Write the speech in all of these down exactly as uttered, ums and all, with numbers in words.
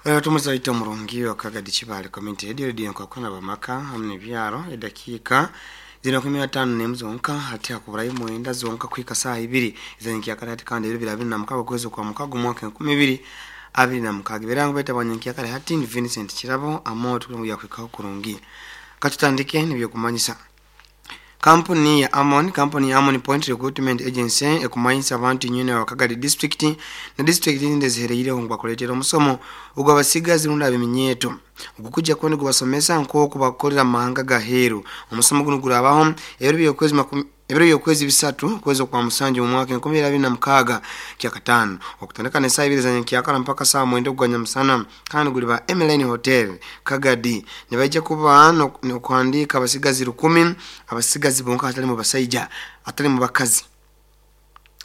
Tumuzaita omurungi wakagadi Kibale Community Radio, Radio nkakona bamaka hamwe n'ebyaro. Edakiika zina kumi na tano n'emu zonka hati hakuburayo mwenda zonka kuhika saaha ibiri ez'enkyakare kandi ebiro biri abiri na mukaaga okwezi kwa mukaaga omwaka enkumi ibiri abiri na mukaaga. Ebirango baitu hati ni Vincent Kirabo amoto kuhikaho kurungi. Katutandike nibyokumanyisa. Kampuni ya Amon, kampuni ya Amon Point Recruitment Agency ekumanyisa abantu nyene wa Kagadi District na district zindi zihereireho ngu bakuleetera omusomo ogw'abasigazi rundi ab'eminyeeto ogukujja kwenda gubasomesa nk'oku bakukolera mu mahanga gaheeru. Omusomo guno gurabaho ebiro by'okwezi makumi ebiro by'okwezi bisatu okwezi kwa musanju mu mwaka enkumi ibiri abiri na mukaaga kyakataano okutandika n'esaaha ibiri za nyenkyakara mpaka saaha mwenda ogwa nyamusana, kandi guliba Emeline Hotel Kagadi. Nibaija kuba n'okuhandiika abasigazi rukumi, abasigazi bonka atali mu basaija, atali mu bakazi,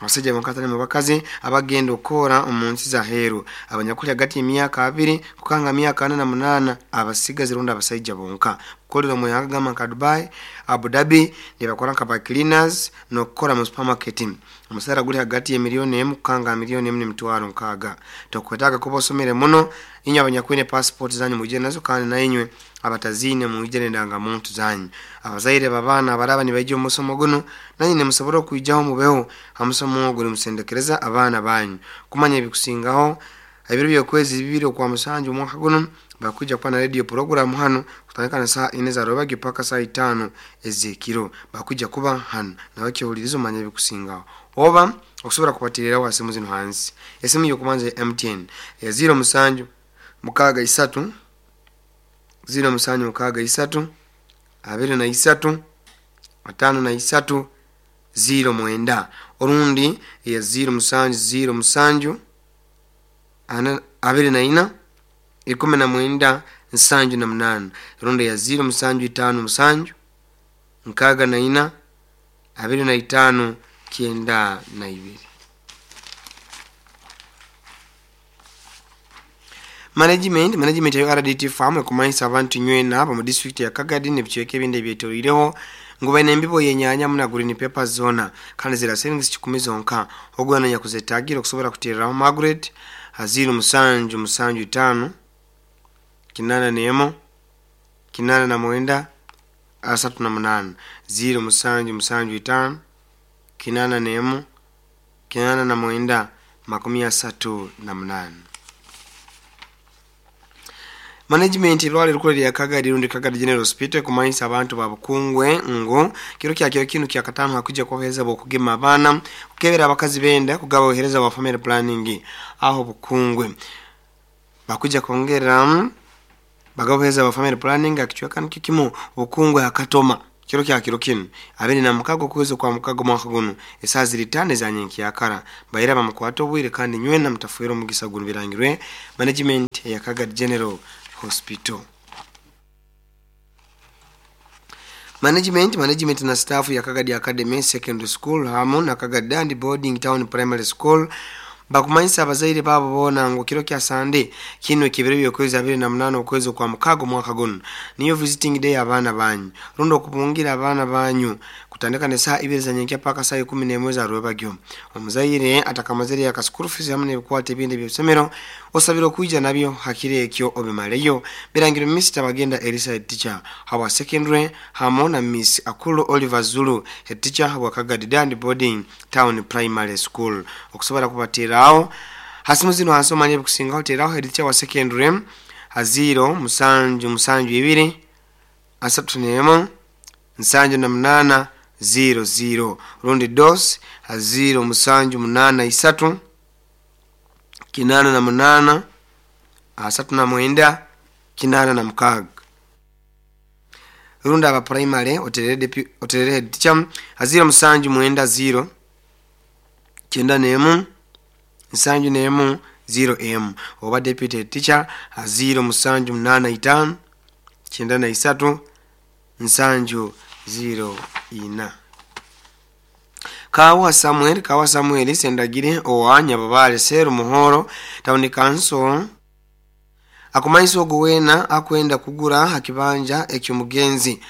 abasaija bonka atali mu bakazi, abagenda okukora omu nsi za heeru, abanyakuli hagati y'emyaka abiri kukanga myaka ana na munaana, abasigazi rundi abasaija bonka kukolera omu ihanga gamba nka Dubai, Abu Dhabi, nibakora nka ba cleaners n'okukora mu supermarket. Omusaara guli hagati y'emiliyoni emu kukanga miliyoni emu n'emitwaro nkaaga. Tokwetaaga kuba osomere muno, inywe abanyakwine passport zanyu mwije nazo, kandi nainywe abataziine mwije n'endangamuntu zanyu. Abazaire b'abaana abaraba nibaija omu musomo guno, nanye nimusobora okwijaho mubeho ha musomo ogu nimusendekereza abaana banyu kumanya ebikusingaho. Ebiro by'okwezi bibiri okwa musanju omwaka guno bakwija kuba na radio program hano kutandika na saa ine za rwebagyo paka saa itaano ez'ekiro. Bakwija kuba hano nawe kyehuliriza omanye ebikusingaho. Oba okusobola kubateereraho ha simu zino hansi. Esimu y'okubanza ya M T N ya ziro musanju mukaaga isatu ziro musanju mukaaga isatu abiri na isatu ataano na isatu ziro mwenda, orundi ya ziro musanju ziro musanju ana abiri na ina ikumi na mwenda nsanju na munana, rundi ya ziro musanju itaano musanju nkaaga na ina abiri na itaano kyenda na ibiri. Management management ya R D T Farm ekumanyisa abantu nywena abo mu district ya Kagadi n'ebicweka ebindi ebyetoreireho ngu baine embibo y'enyaanya muna green peppers zona kandi zira siringi kikumi zonka. Ogwana nyakuzetaagira okusobola kuteereraho Margaret ziro musanju musanju itaano kinana n'emu kinana na mwenda asatu na munaana, ziro musanju musanju itaano kinana n'emu kinana na mwenda makumi asatu na munaana. Management irwaliro rikuru lya Kagadi rundi Kagadi General Hospital kumanyisa abantu ba Bukungwe ngu kiro kya kiro kinu kya katano hakujja kubahereza bokugema abaana, kukebera abakazi benda kugaba obuhereza bwa family planning aho Bukungwe. Bakuja kwongera bagaba obuhereza bwa family planning akichweka nikyo kimu Bukungwe hakatoma kiro kya kiro kinu abiri na mukago okwezi kwa mukago mwaka guno esaaha ziri itaano eza nyenkyakara. Baira bamukwata obwire kandi nywena mutafuire omugisa guno. Birangirwe management ya Kagadi General Hospital. Management management na staff ya Kagadi Academy Secondary School hamu na Kagadi Dandi Boarding Town Primary School bakumanyisa abazaire babo boona ngu kiro kya Sande kino ekibiro by'okwezi abiri na munaana okwezi kwa mukaaga omwaka guno niyo visiting day abaana banyu rundi okubungira abaana banyu kutandika n'esaaha ibiri za nyenkya paka saaha ikumi n'emwe za rwebagyo. Omuzaire atakamazire yaka school fees hamu n'ebikwata ebindi eby'ebisomero osabire okwija nabyo hakiro ekyo obimaleyo. Birangiro Mister Bagenda Elisa head teacher hawa secondary hamu na Miss Akulu Oliver Zulu head teacher hawa Kagadi Dandi Boarding Town Primary School. Okusobola kubateerawo hasimu zino hansi omanye ebikusingaho, teeraho head teacher wa secondary ha ziro musanju musanju ibiri asatu n'emu nsanju na munaana ziro ziro, rundi dos ha ziro musanju munaana isatu kinana na munaana asatu na mwenda kinana na mukaaga. Rundi aba primary oterere oterere head teacher ha ziro musanju mwenda ziro kyenda n'emu nsanju n'emu ziro emu, oba deputy head teacher ha ziro musanju munaana itaano kyenda na isatu nsanju ziro ina. Kawa Samuel Kawa Samuel Sendagire owa Nyababale Seru Muhoro Town Council akumanyisa ogu wena akwenda kugura hakibanja ekyomugenzi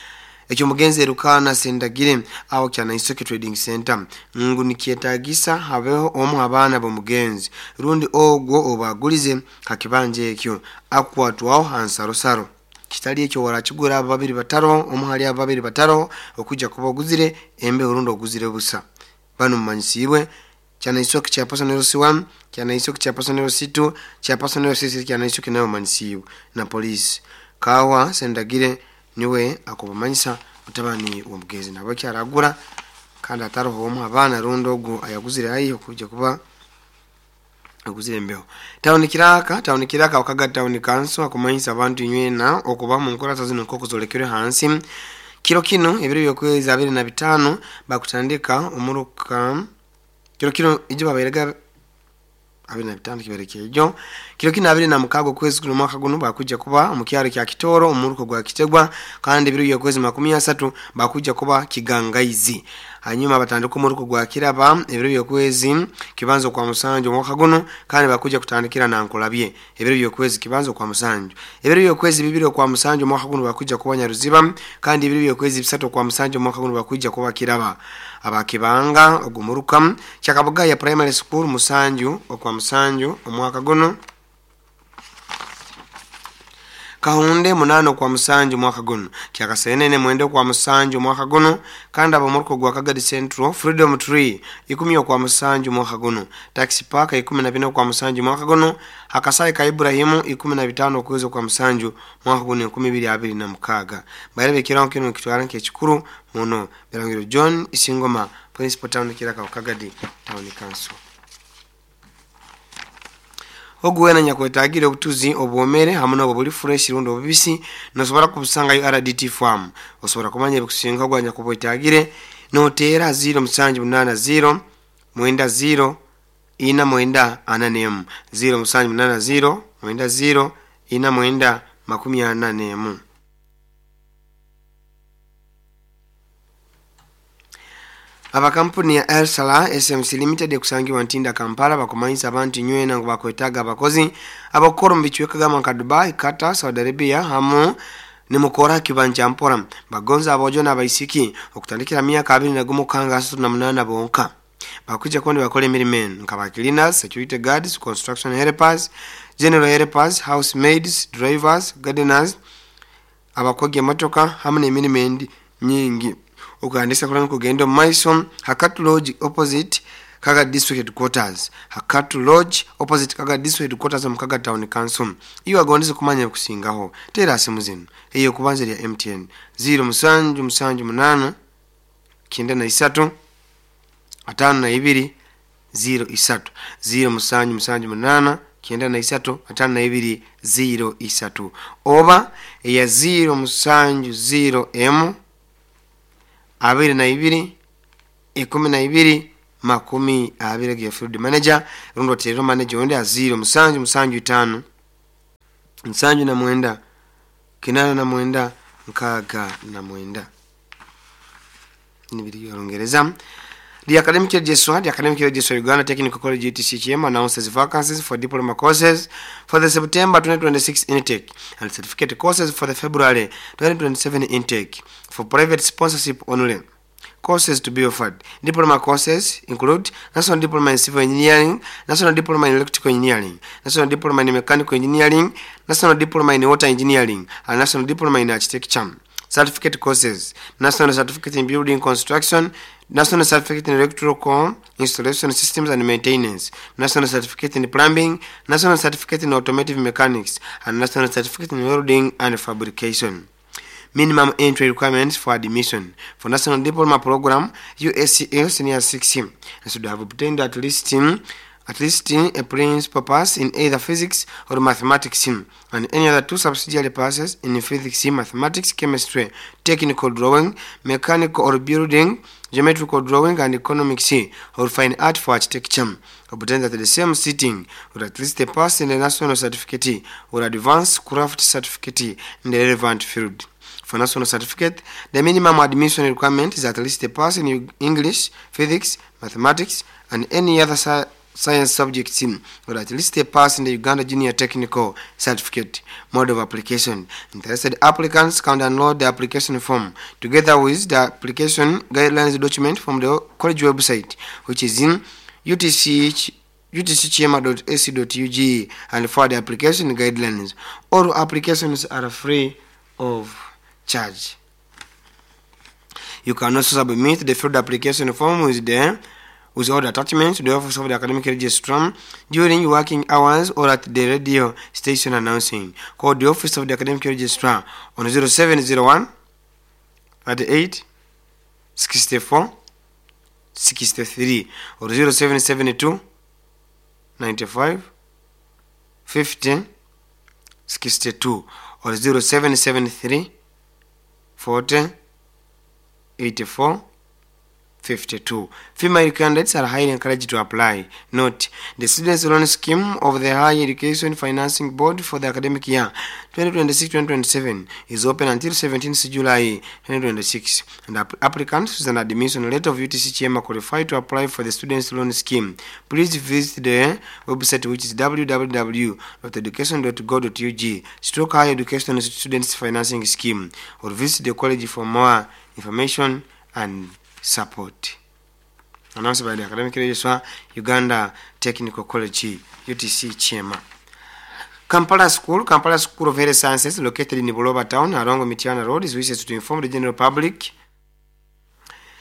ekyomugenzi Erukana Sendagire aho Kyanaisoke Trading Center ngu nikyetagisa habeho omu abaana b'omugenzi rundi ogwo obagulize hakibanja ekyo akwatwaho hansarosaro kitali ekyo warakigura abo babiri bataro omu hali abo babiri bataro okujja kuba oguzire embeho rundi oguzire busa. Bano mumanyisibwe Kyanaisoke kya personal C one, Kyanaisoke kya personal C two, kya personal C three, Kyanaisoke nayo mumanyisibwe na polisi. Kawa Sendagire niwe akubamanyisa mutabani w'omugenzi nabo kyaragura kandi ataroho omu abaana rundi ogwo ayaguzire haihi okujja kuba aguzire embeho. Tawuni Kiraka, Tawuni Kiraka wakaga Tawuni Council akumanyisa abantu inywena okuba mu nkurata zino nk'oku zolekerwe hansi. Kiro kino ebiro by'okwezi abiri na bitaano bakutandika omuruka kiro kino ijo babairega abiri na bitaano kibereke ijo kiro kino abiri na mukago kwezi kuno mwaka guno bakujja kuba mu kyaro kya Kitoro omuruko gwa Kitegwa kandi ebiro by'okwezi makumi asatu bakujja kuba Kigangaizi. Hanyuma batandika omuruko gwa Kiraba ebiro by'okwezi kibanzo kwa musanju mwaka guno kandi bakujja kutandikira na Nkolabye ebiro by'okwezi kibanzo kwa musanju. Ebiro by'okwezi bibiri kwa musanju mwaka guno bakujja kuba Nyaruziba kandi ebiro by'okwezi bisatu kwa musanju mwaka guno bakujja kuba Kiraba. Abakibanga ogumuruka Kyakabugaya Primary School musanju okwa musanju omwaka guno. Kahunde munano kwa musanju mwaka guno. Kyakasenene mwende kwa musanju mwaka guno kandi abamuruko gwa Kagadi Central Freedom Tree ikumi kwa musanju mwaka guno. Taxi Park ikumi na bina kwa musanju mwaka guno. Hakasai ka Ibrahimu ikumi na bitano kuwezo kwa musanju mwaka guno ikumi bili abiri na mukaga. Bairebe kirango kino kitwara nk'ekikuru muno. Birangiro John Isingoma Principal Town Kiraka Kagadi Town Council. Oguwena nyakwetagire obutuzi obwomere hamu n'obwo buli fresh rundi obubisi nosobora kubusanga yo R D T farm. Osobola kumanya ebikusinga ogwa nyakwetagire noteera zero musanju munana zero mwenda zero ina mwenda ana nemu zero musanju munana zero mwenda zero ina mwenda makumi ana nemu. Aba kampuni ya El Salah S M C Limited ekusangiwa Ntinda Kampala bakumanyisa abantu nywena ngu bakwetaaga abakozi abakora mu bicweka gama nka Dubai, Qatar, Saudi Arabia hamu nimukora kibanja mpora bagonza abojo n'abaisiki okutandikira myaka abiri na gumu kanga asatu na munana bonka. Bakuja kondi bakole emirimo eno nka ba cleaners, security guards, construction helpers, general helpers, housemaids, drivers, gardeners, abakoga emotoka hamu n'emirimo endi nyingi. Okuhandisa kulana kugenda omu maiso Hakatu Lodge opposite Kaga District Headquarters. Hakatu Lodge opposite Kaga District Headquarters omu Kaga Town Council. Iyo agondeze kumanya okusingaho teera simu zino eyo kubanza lya M T N zero musanju musanju munana kyenda na isatu atano na ibiri zero isatu zero musanju musanju munana kyenda na isatu atano na ibiri zero isatu oba eya zero musanju zero emu abiri na ibiri ikumi na ibiri makumi abiri ge field manager rundo terero manager onde a zero musanju musanju itano musanju na mwenda kinana na mwenda nkaga na mwenda. Nibiri Olungereza. The Academic Registrar, the Academic Registrar Uganda Technical College U T C H M announces vacancies for diploma courses for the September twenty twenty-six intake and certificate courses for the February twenty twenty-seven intake for private sponsorship only. Courses to be offered. Diploma courses include National Diploma in Civil Engineering, National Diploma in Electrical Engineering, National Diploma in Mechanical Engineering, National Diploma in Water Engineering, and National Diploma in Architecture. Certificate courses: National Certificate in Building Construction, National Certificate in Electrical Installation Systems and Maintenance, National Certificate in Plumbing, National Certificate in Automotive Mechanics, and National Certificate in Welding and Fabrication. Minimum entry requirements for admission for National Diploma Program U S C L Senior six and should have obtained at least at least a principal pass in either physics or mathematics and any other two subsidiary passes in physics, mathematics, chemistry, technical drawing, mechanical or building, geometrical drawing and economics or fine art for architecture. Obtained at the same sitting or at least a pass in the national certificate or advanced craft certificate in the relevant field. For national certificate, the minimum admission requirement is at least a pass in English, physics, mathematics, and any other science subjects or at least a pass in the Uganda Junior Technical Certificate. Mode of application. Interested applicants can download the application form together with the application guidelines document from the college website, which is in U T C U T C Kyema dot A C dot U G, and for the application guidelines. All applications are free of charge. You can also submit the filled application form with the with all the attachments to the office of the academic registrar during working hours or at the radio station announcing. Call the office of the academic registrar on zero seven zero one thirty-eight sixty-four sixty-three or zero seven seven two ninety-five fifty sixty-two or zero seven seven three forty eighty-four fifty-two. Female candidates are highly encouraged to apply. Note, the Students' Loan Scheme of the Higher Education Financing Board for the academic year twenty twenty-six twenty twenty-seven is open until seventeenth July twenty twenty-six, and app applicants with an admission letter of U T C Kyema qualify to apply for the Students' Loan Scheme. Please visit the website, which is w w w dot education dot gov dot u g stroke higher education students financing scheme, or visit the college for more information and support. Announced by the Academic Registrar, Uganda Technical College, U T C Kyema. Kampala School, Kampala School of Health Sciences, located in Buloba Town along Mityana Road, is wishes to inform the general public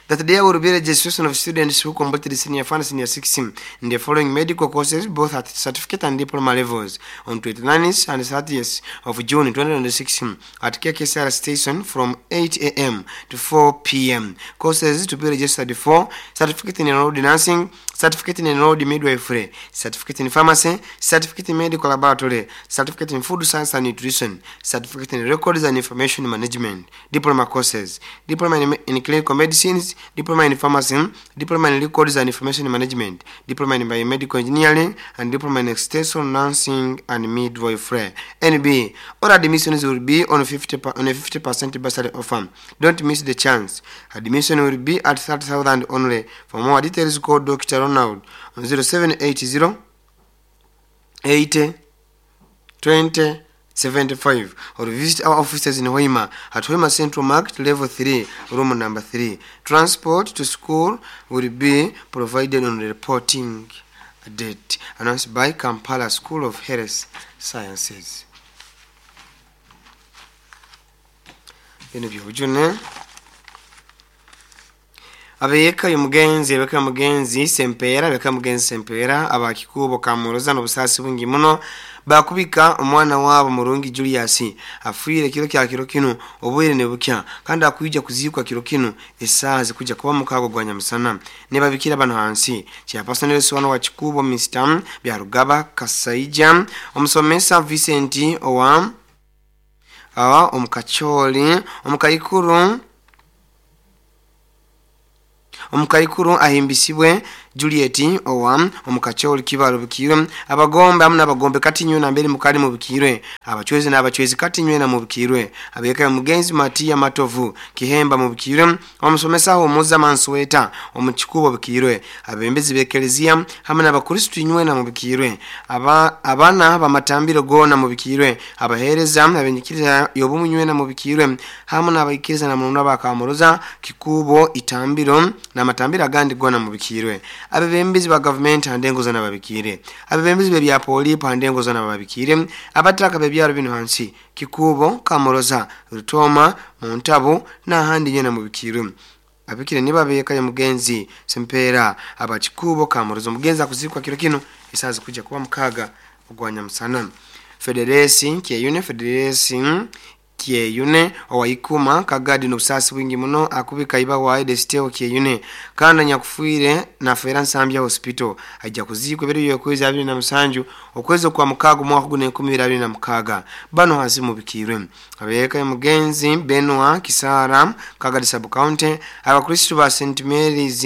that there will be registration of students who completed senior four and senior six in the following medical courses, both at certificate and diploma levels, on twenty-ninth and thirtieth of June twenty twenty-six at K K C R station from eight A M to four P M. Courses to be registered for: certificate in enrolled nursing, certificate in enrolled midwifery, certificate in pharmacy, certificate in medical laboratory, certificate in food science and nutrition, certificate in records and information management, diploma courses, diploma in, in clinical medicines, diploma in pharmacy, diploma in records and information management, diploma in biomedical engineering, and diploma in extension nursing and midwifery. N B. All admissions will be on fifty on a fifty percent bursary offer. Don't miss the chance. Admission will be at thirty thousand only. For more details, call Doctor Ronald on zero seven eight zero eighty twenty seventy-five or visit our offices in Hoima at Hoima Central Market, level three, room number three. Transport to school will be provided on the reporting date. Announced by Kampala School of Health Sciences. Abeyeka y'omugenzi ebeka mugenzi Sempera ebeka mugenzi Sempera abakikubo kamuroza n'obusasi bungi muno bakubika omwana wabo Murungi Julius afuire kiro kya kiro kino obwire ne bukya kandi akuyija kuzikwa kiro kino esazi kuja kuba mukago gwa nyamusana ne babikira bano hansi chairperson wano wa Kikubo Mister Byarugaba Kasaija omusomesa Vincent owa awa omukacholi omukayikuru omukaikuru ahimbisibwe Juliet owa omukacholi kibalo bukirwe abagombe amuna abagombe kati nywe na mbere mukali mu bukirwe abachwezi na abachwezi kati nywe na mu bukirwe abeka mugenzi Matia Matovu Kihemba mu bukirwe omusomesa omuza Mansweta omukikubo bukirwe abembezi bekelezia hamwe n'abakristo nywe na mu bukirwe aba abana bamatambiro gona mu bukirwe abahereza abenyikiriza yobumu nywe na mu bukirwe hamwe n'abayikiriza na muno bakamuroza Kikubo itambiro na matambiro agandi gona mu bukirwe abebembezi ba government andengo zona babikire abebembezi be bya poli pandengo zona babikire abataka be byaro bino hansi Kikubo Kamuroza Rutoma Muntabo na handi nyena mu bikire abikire niba beka ya mugenzi Sempera abakikubo Kamuroza mugenzi akuzikwa kiro kino isazi kuja kuba mukaga ogwanya musana Federesi Kyeyune Federesi Kyeyune owaikuma kagadi n'obusasi bwingi muno akubika iba wa Desteo Kyeyune kandi nyakufuire na Fera Nsambya Hospital ajja kuzikwa ebiro yokwezi abiri na musanju okwezi kwa mukago mwaka guno enkumi abiri na mukaga bano hasi mubikirwe abeka mugenzi Benoit Kisara Kagadi Sub County abakristo ba Saint Mary's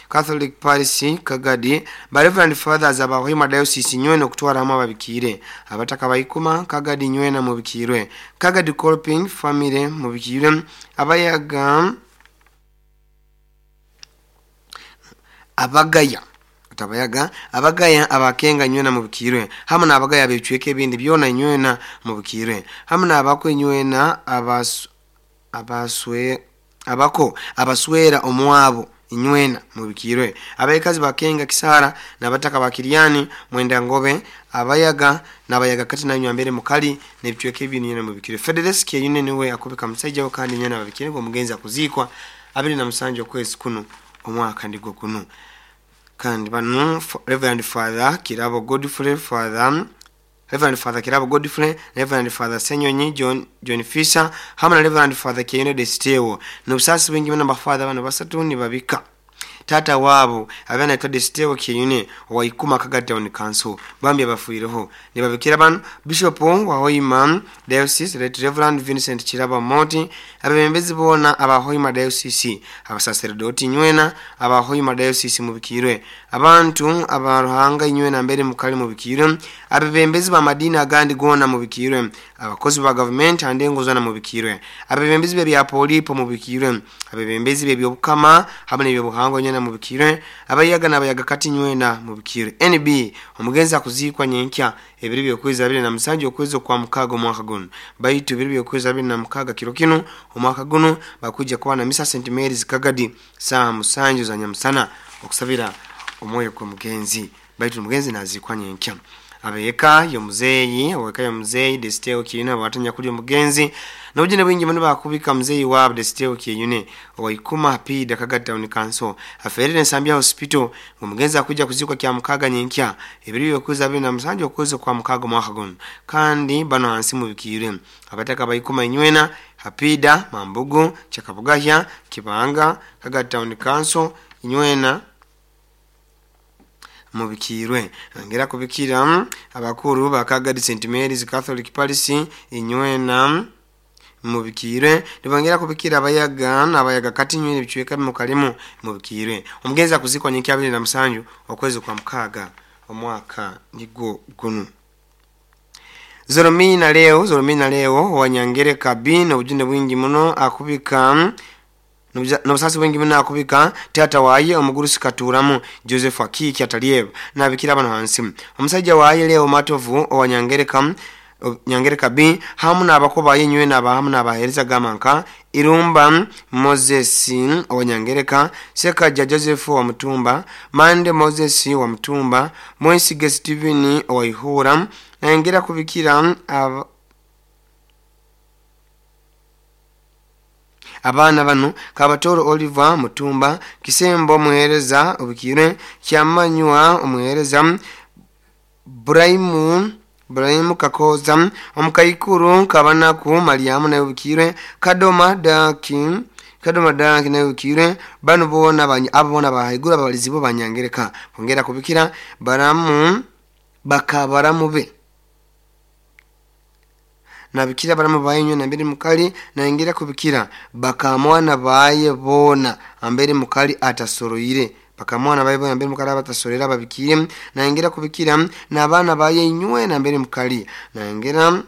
Catholic Parish Kagadi ba Reverend Fathers abahima Diocese nywene okutwara hamwe ababikire abataka bayikuma Kagadi nywena mubikirwe Kagadi Colping family mubikirwe abayaga abagaya Tabayaga abagaya abakenga nywena mubikirwe hamu n'abagaya ab'ebicweka ebindi byona nywena mubikirwe hamu n'abako nywena abas, abaswe abako abaswera omwabo inywena mubikirwe abaikazi bakenga Kisara n'abataka bakiryani Mwenda Ngobe abayaga n'abayaga kati nanywa mbere mukali n'ebicweka ebindi nywena mubikirwe. Federesi Kyeyune niwe akubika musajja we kandi nywena babikirwe omugenzi akuzikwa abiri na musanju okwezi kuno omwaka ndigwo kuno. Kandi bano Reverend Father Kirabo Godfrey Father Reverend Father Kirabo Godfrey, Reverend Father Senyonyi John John Fisher hamwe na Reverend Father Kyeyune Desteo n'obusasi bwingi bano bafather bano basatu nibabika tata wabo abana anaitwa Desteo Kyeyune wa Ikuma Kagadi Town Council bambi abafuireho nibabikira bano Bishop wa Hoima Diocese Right Reverend Vincent Kirabo Moti abebembezi bona aba Hoima Diocese abasaserdoti nywena aba Hoima Diocese mubikirwe abantu abaruhanga nywena mbere mukali mubikirwe abebembezi ba madini agandi gona mubikirwe abakozi ba government andengo zona mubikirwe abebembezi bya polipo mubikirwe abebembezi by'obukama hamwe n'ebyobuhango nywena mubikirwe abayaga n'abayaga kati nywena mubikirwe. N B omugenzi akuzikwa nyenkya ebiri byokwezi abiri na musanju okwezi kwa mukaga omwaka guno baitu ebiri byokwezi abiri na mukaga kiro kino omwaka guno bakuja kuba na misa Saint Mary's Kagadi saa musanju za nyamusana okusabira omwoyo kwa mugenzi baitu mugenzi nazikwa nyenkya. Abeka yomuzeyi aweka yomuzeyi Desteo Kyeyune abatanya kuli omugenzi n'obujune bwingi muno bakubika muzeyi wa Desteo Kyeyune wa Ikuma Pida Kagadi Town Council aferere Nsambya Hospital omugenzi akuja kuzikwa kya mukaga nyenkya ebiri byokwezi abiri na musanju okwezi kwa mukaga omwaka guno kandi bano hansi mubikirwe abataka baikuma inywena Hapida Mambugu Chakabugahya Kibanga Kagadi Town Council inywena mubikirwe. Ngera kubikira abakuru ba Kagadi Saint Mary's Catholic Parish inywena mubikirwe nibongera kubikira abayaga n'abayaga kati nywena ebicweka mukalimu mubikirwe omugenzi akuzikwa nyenkya abiri na musanju okwezi kwa mukaga omwaka nigwo guno. Zoromina leo Zoromina leo wanyangereka B n'obujune bwingi muno akubika n'obusasi bwingi muno akubika tata waye omugurusi katuramu Joseph Akiki ataliyev nabikira bano hansi omusajja waye leo Matovu owanyangereka Nyangereka B hamu n'abakoba yenywe n'abahamu n'abahereza gamanka Irumba Moses owanyangereka Sekaja Joseph wa Mutumba Mande Moses wa Mutumba Mwesige Steven wa Ihura nangera kubikira ab... abaana bano Kabatoro Oliver Mutumba Kisembo omuhereza obikire Kyamanywa omuhereza Braimu Braimu Kakoza omukaikuru Kabanaku Mariamu naye obikire Kadoma Daki Kadoma Daki naye obikire bano bona abo bona bahaigura abalizi bo banyangereka bongera kubikira baramu bakabaramu be nabikira baramu bayenywe na mbere mukali naingira kubikira bakamwana baye bona ambere mukali atasoroire bakamwana baye bona mbere mukali abatasorera babikire naingira kubikira n'abana baye nywe na mbere mukali naingira